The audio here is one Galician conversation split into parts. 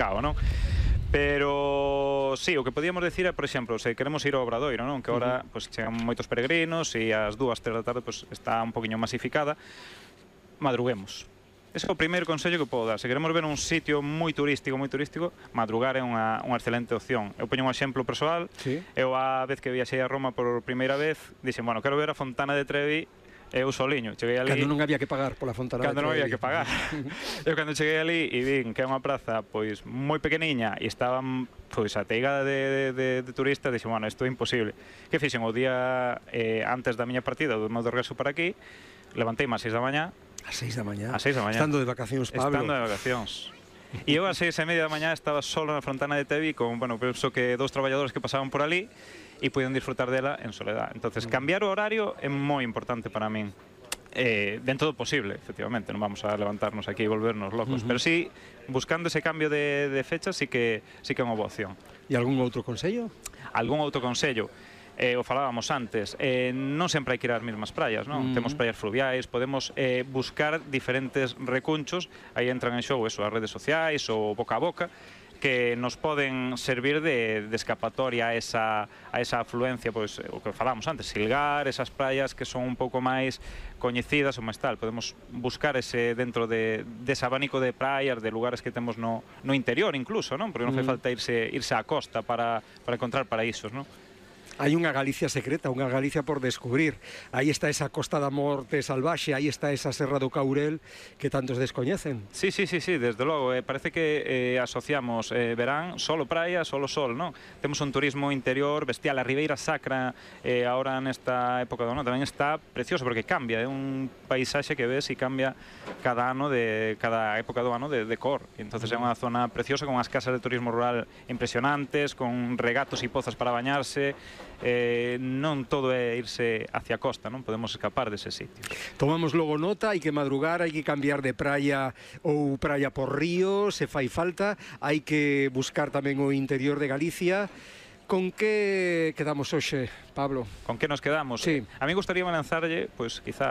non? Pero, sí, o que podíamos decir é, por exemplo, se queremos ir ao Obradoiro, non? Que agora, pois, chegan moitos peregrinos e ás 2, 3 da tarde, pois, está un poquinho masificada. Madruguemos. Ese é o primeiro consello que podo dar. Se queremos ver un sitio moi turístico, madrugar é unha excelente opción. Eu poño un exemplo persoal. Sí. Eu, a vez que viaxei a Roma por primeira vez, dixen, bueno, quero ver a Fontana de Trevi. Eu soliño, cheguei ali... Cando non había que pagar pola Fontana de Trevi. Cando non había que pagar. Eu cando cheguei ali e vin que é unha praza pois moi pequeniña e estaban pois ateigada de turistas, dixen, bueno, isto é imposible. Que fixen o día antes da miña partida, do meu de regreso para aquí, levanteime ás 6 da mañá. Ás 6 da mañá? Ás 6 da mañá. Estando de vacacións, Pablo. Estando de vacacións. E eu ás 6:30 da mañá estaba solo na Fontana de Trevi con, bueno, penso que 2 traballadores que pasaban por ali e puiden disfrutar dela en soledad. Entonces, cambiar o horario é moi importante para min. Dentro do posible, efectivamente, non vamos a levantarnos aquí e volvernos locos, pero sí, buscando ese cambio de fecha, sí que é unha boa opción. E algún outro consello? Algún outro consello? O falábamos antes, non sempre hai que ir ás mesmas praias, non? Temos praias fluviais, podemos buscar diferentes recunchos, aí entran en xogo eso, as redes sociais, o boca a boca, que nos poden servir de escapatoria a esa afluencia, pois, o que falamos antes, Silgar, esas praias que son un pouco máis coñecidas ou máis tal. Podemos buscar ese dentro dese abanico de praias, de lugares que temos no interior incluso, non? Porque non fai falta irse á costa para encontrar paraísos, non? Hai unha Galicia secreta, unha Galicia por descubrir. Aí está esa Costa da Morte salvaxe, aí está esa Serra do Caurel que tantos descoñecen. Sí, desde logo. Parece que asociamos verán, solo praia, solo sol, non? Temos un turismo interior bestial. A Ribeira Sacra, ahora nesta época do ano, tamén está precioso, porque cambia. É un paisaxe que ves e cambia cada ano, cada época do ano de cor. Entonces é unha zona preciosa, con as casas de turismo rural impresionantes, con regatos e pozas para bañarse. Non todo é irse hacia a costa, non podemos escapar dese sitio. Tomamos logo nota, hai que madrugar, hai que cambiar de praia ou praia por río, se fai falta, hai que buscar tamén o interior de Galicia. Con que quedamos hoxe, Pablo? Con que nos quedamos? Sí. A mí gustaría lanzarlle, pois, quizá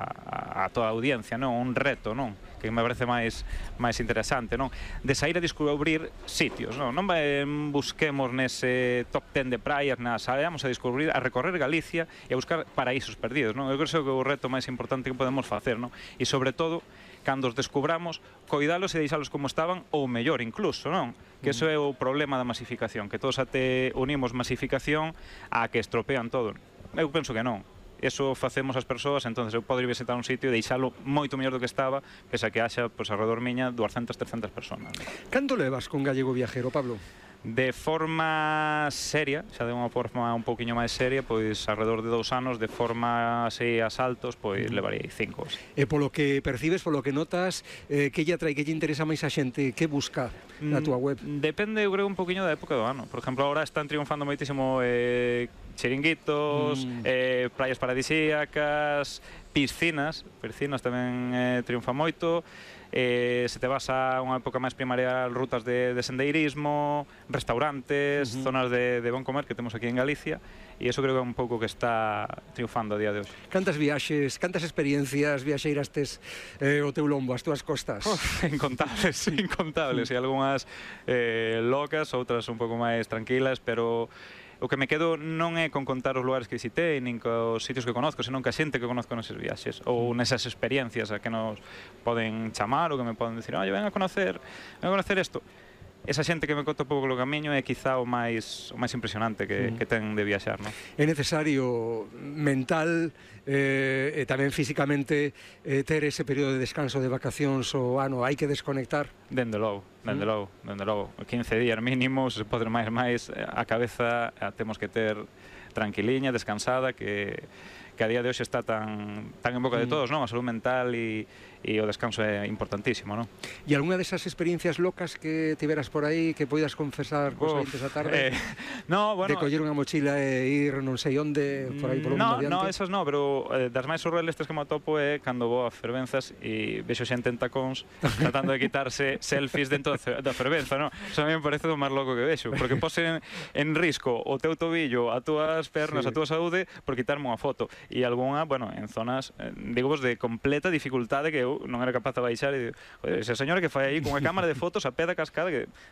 a toda a audiencia, non? Un reto, non? Que me parece máis interesante, non? De sair a descubrir sitios, non? Non busquemos nese top 10 de praias, nada, saíamos a descubrir, a recorrer Galicia e a buscar paraísos perdidos, non? Eu creo que é o reto máis importante que podemos facer, non? E sobre todo, cando os descubramos, coidalos e deixalos como estaban, ou mellor incluso, non? Que iso é o problema da masificación, que todos até unimos masificación a que estropean todo. Eu penso que non. Eso facemos as persoas, entonces eu podo ir visitar un sitio e deixalo moito mellor do que estaba, pese a que haxa, pois, alrededor miña 200, 300 personas. Canto levas con Gallego Viajero, Pablo? De forma seria, xa de unha forma un pouquiño máis seria, pois alrededor de 2 anos, de forma así a saltos, pois levarei 5. E polo que percibes, polo que notas, que lle atrae, que lle interesa máis a xente, que busca na túa web? Depende, eu creo, un pouquiño da época do ano. Por exemplo, agora están triunfando moitísimo chiringuitos, praias paradisíacas, piscinas tamén triunfa moito. Se te vas a unha época máis primaria, rutas de sendeirismo, restaurantes, zonas de bon comer que temos aquí en Galicia, e iso creo que é un pouco que está triunfando a día de hoxe. Cantas viaxes, cantas experiencias viaxeiras tes o teu lombo, as túas costas? Incontables, e algunhas locas, outras un pouco máis tranquilas, pero o que me quedo non é con contar os lugares que visitei, nin cos sitios que conozco, senón que a xente que conozco neses viaxes, ou nesas experiencias a que nos poden chamar, ou que me poden dicir, ven a conocer isto. Esa xente que me conta un pouco o camiño é quizá o máis impresionante que ten de viaxar, non? É necesario mental e tamén físicamente ter ese período de descanso de vacacións o ano, hai que desconectar? Dende logo. 15 días mínimo, se pode máis, a cabeza temos que ter tranquiliña, descansada, que a día de hoxe está tan en boca de todos, non? A salud mental e o descanso é importantísimo, non? E algunha desas experiencias locas que tiveras por aí que poidas confesar cos ointes a tarde? No, bueno, de coller unha mochila e ir non sei onde, por aí polo mundo adiante? No, esas no, pero das máis surrealistas que me atopo é cando vou a fervenzas e vexo xente en tacóns tratando de quitarse selfies dentro da fervenza, non? Eso a mí me parece o máis loco que vexo, porque pose en risco o teu tobillo, as túas pernas, a túa saúde por quitarme unha foto. e algunha, bueno, en zonas, digamos, de completa dificultade que eu non era capaz de baixar e digo, ese señor que fai aí cunha cámara de fotos a pé da cascada que